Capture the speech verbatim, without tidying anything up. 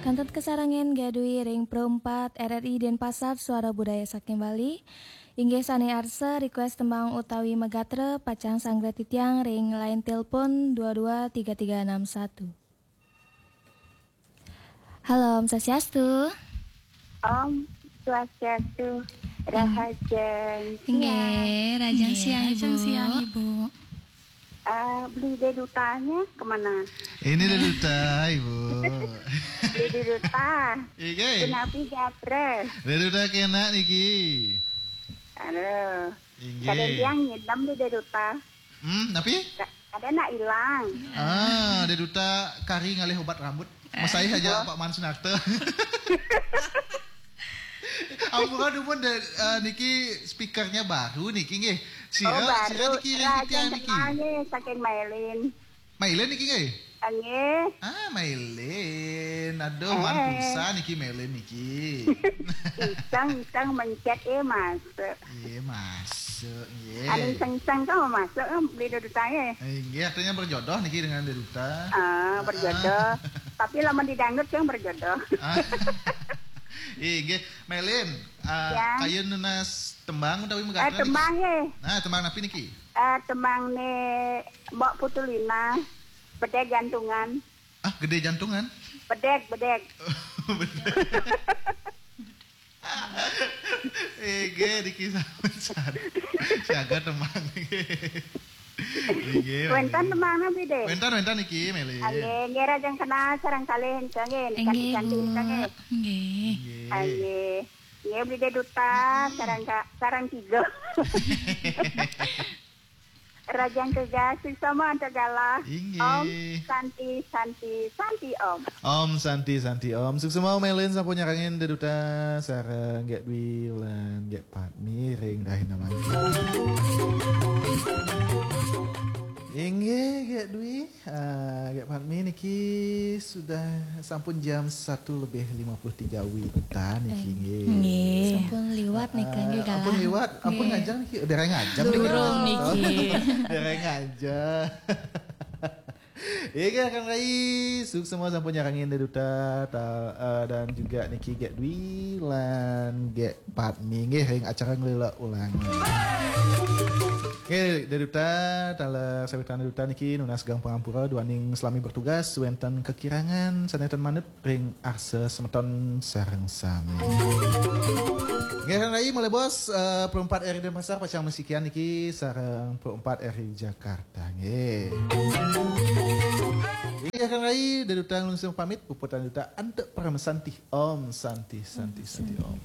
Kantun kasarengin Gadui ring Pro empat R R I Denpasar, Suara Budaya saking Bali. Inggih sane arsa request tembang utawi magatra, pacang sanggra titiang ring line telepon dua dua tiga tiga enam satu. Halo, Om Swastiastu. Om Swastiastu. Rahajeng. Inggih, rahajeng siang, Ibu. Ah, beli dedutanya kemana? Ini deduta, Ibu. Beli deduta. Inggih. Kenapi japres? Deduta kena niki. Aduh. Inggih. Kadang tiang ngidam di deduta. Hmm, napi? Ka-, ada nak hilang. Ah, deduta kari ngalih obat rambut. Masai aja Pak Man Sunarta. Ampura dumun de, eh, niki speakernya baru niki nggih. Sira, oh, baru. Sira niki ring titiang niki. Kenalnya saking Mailin. Mailin niki nggih? Nggih. Ah, Mailin. Aduh, eh. Man pulsa niki Mailin niki. Iseng-iseng mencet, eh, masuk. Iya, masuk, nggih. Anu iseng-iseng kan masuk kan beli dudutanya. Eh, nggih, artinya berjodoh niki dengan deduta. Ah, berjodoh. Tapi lamun di dangdut yang berjodoh. Ah. Inggih, Mailin, ah, ya. Kayun nunas tembang utawi eh, magatra niki? Tembang, ya. Nah, tembang napi niki? Eh, tembang ni Mbok Putulina, Bedeg Jantungan. Ah, gede jantungan? Bedeg, bedeg. Bedeg. Ege, niki sampun siaga tembang. Ege, wénten tembang napi, Dek? Wénten, wénten niki, Meli. Nggih, nggih, rahajeng kenal sareng kalih, nggih, nggih, kanti-kanti, Bu. Nggih. Nggih. Nggih. Nggih, beli duta, sareng ka-, sareng tiga. Rahajeng tugas, suksma antar galah. Inggih. Om Santi, Santi, Santi Om. Om Santi, Santi Om. Suksma Meli sampun nyarengin deduta sareng Gek Dwi lan Gek Padmi ring rahina mangkin. Inggih, Gek Dwi. Ah, Gek Padmi niki sudah sampun jam satu lebih lima puluh tiga wita niki, eh, nggih. Nggih. Sampun liwat niki, ah, nggih, galah. Ampun liwat, ampun, nggih. Ngajeng niki, dereng ngajeng niki. Durung niki. Dereng ngajeng. Inggih, Kang Rai, suksma sampun nyarengin deduta, ta-, eh, dan juga niki Gek Dwi lan Gek Padmi nggih ring acara Nglila Ulangi. Nggih, deduta, taler sawitan deduta niki nunas geng pangampura duaning salami bertugas wénten kakirangan sané ten manut ring arsa semeton sareng sami. Nggih, Kang Rai, malih bos, eh, Pro empat R I Denpasar pacang masikian niki sareng Pro empat R I Jakarta. Nggih. Inggih, Kang Rai, deduta nglungsur pamit, puputang deduta antuk parama santi. Om Santi, Santi, Santi Om.